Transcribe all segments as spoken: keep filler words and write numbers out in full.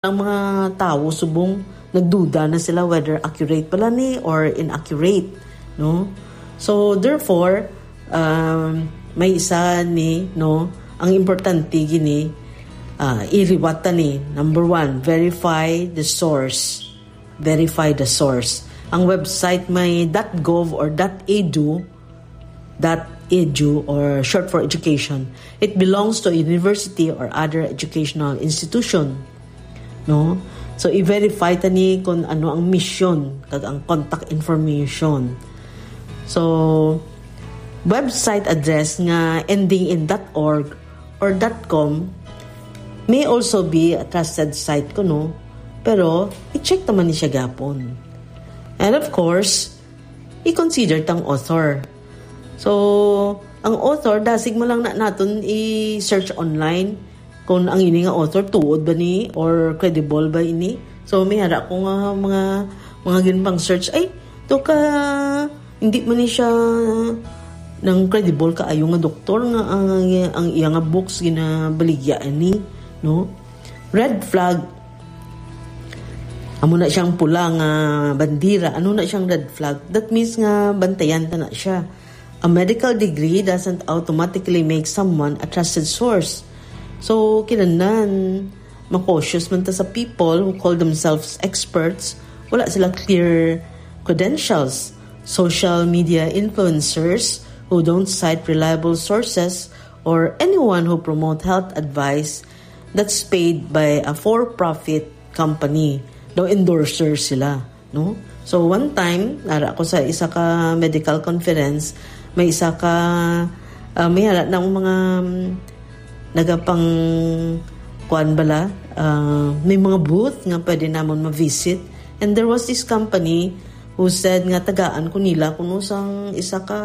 ang mga tawo subong nagduda na sila whether accurate pala ni or inaccurate, no? So, therefore, um, may isa ni, no, ang importante gini, ah, iliwat ta ni. Number one, verify the source. Verify the source. Ang website may dot gov or dot edu, dot edu, or short for education. It belongs to a university or other educational institution, no? So, i-verify ta ni kung ano ang mission kag ang contact information. So, website address nga ending in dot org or dot com may also be a trusted site kuno, pero i-check naman ni siya gapon. And of course, i-consider tang author. So, ang author, dasig mo lang na naton i-search online kung ang ini nga author tuod ba ni or credible ba ini. So, may ara ko nga mga, mga ginpang search, ay, to ka, hindi man ni siya nang credible kaayo nga doktor nga ang, ang iya nga books ginabaligya ni, no? Red flag. Amo na siyang pula nga bandira. Ano na siyang red flag? That means nga bantayan ta na siya. A medical degree doesn't automatically make someone a trusted source. So, kinahanglan, ma-cautious man ta sa people who call themselves experts. Wala sila clear credentials. Social media influencers who don't cite reliable sources or anyone who promote health advice that's paid by a for-profit company. Daw endorser sila, no? So, one time, nara ako sa isa ka medical conference, may isa ka, ah, may hala na ang mga, um, nagapang, kuan bala, ah, may mga booth nga pwede namon ma-visit. And there was this company who said nga tagaan ko nila kuno sang isa ka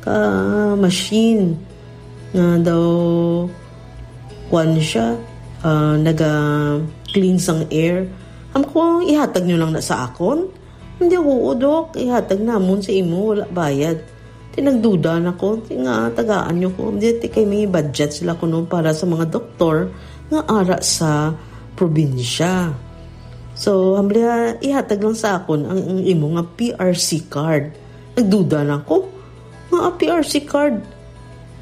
ka machine nga daw, kuwan siya, ah, naga-clean sang air. Am ko, ihatag nyo lang na sa akon? Hindi, oo, Dok. Ihatag namon sa imo, wala bayad. Ti nagduda na ko, ti nga tagaan nyo ko. Hindi, ti kay may budget sila kuno para sa mga doktor nga ara sa probinsya. So, hamliha, ihatag lang sa akon ang, ang imo nga P R C card. Nagduda na ko. Nga P R C card.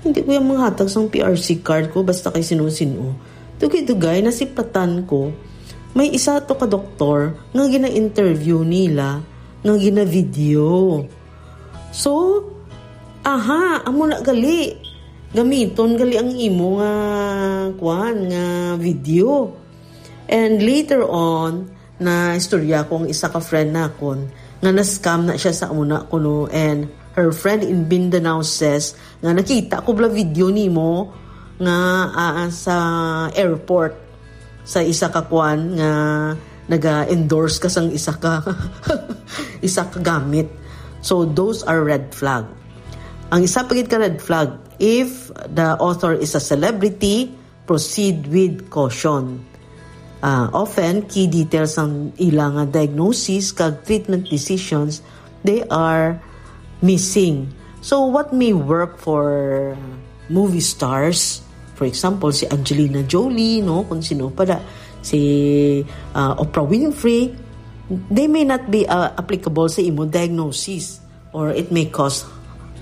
Hindi ko yung manghatag sang P R C card ko basta kay sino-sino. Dugay-dugay, nasiplatan ko. May isa to ka doktor nga gina-interview nila, nga gina-video. So, aha, amo na gali. Gamiton gali ang imo nga, kuan, nga video. And later on, na istorya ko ang isa ka friend nakon nga na-scam na siya sa una kuno, and her friend in Mindanao says nga nakita ko bala video nimo nga, ah, sa airport sa isa ka kwan nga naga-endorse ka sang isa ka isa ka gamit. So those are red flag. Ang isa pa gid ka red flag, if the author is a celebrity, proceed with caution. Ah, often, key details sang ila nga diagnosis kag treatment decisions, they are missing. So, what may work for movie stars, for example, si Angelina Jolie, no, kung sino pa da, si, ah, Oprah Winfrey, they may not be, ah, applicable sa imo diagnosis. Or it may cause,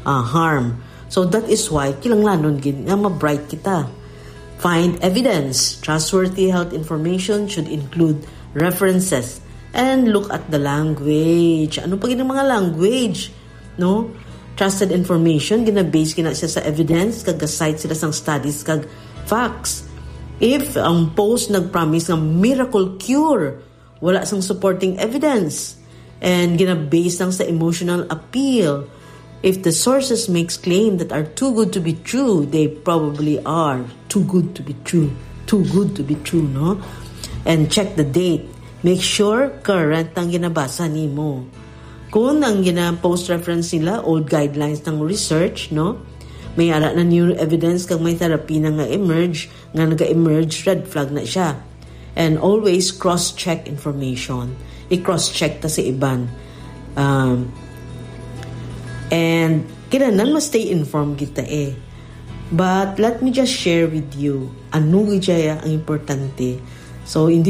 uh, harm. So that is why kinahanglanon gid nga ma-bright kita. Find evidence. Trustworthy health information should include references. And look at the language. Ano pa gid ang mga language? No? Trusted information, gina-base gina siya sa evidence, kag ga-cite sila sang studies kag facts. If ang post nag-promise nga miracle cure, wala sang supporting evidence, and gina-base lang sa emotional appeal. If the sources makes claim that are too good to be true, they probably are too good to be true. Too good to be true, no? And check the date. Make sure current ang ginabasa nimo. Kung ang gina-post reference nila, old guidelines ng research, no? May ara na new evidence kag may therapy na nga emerge, nga naga-emerge, red flag na siya. And always cross-check information. I-cross-check ta sa iban. Um, and kinahanglan ma-stay informed kita eh. But let me just share with you, ano gid siya ang importante. So in this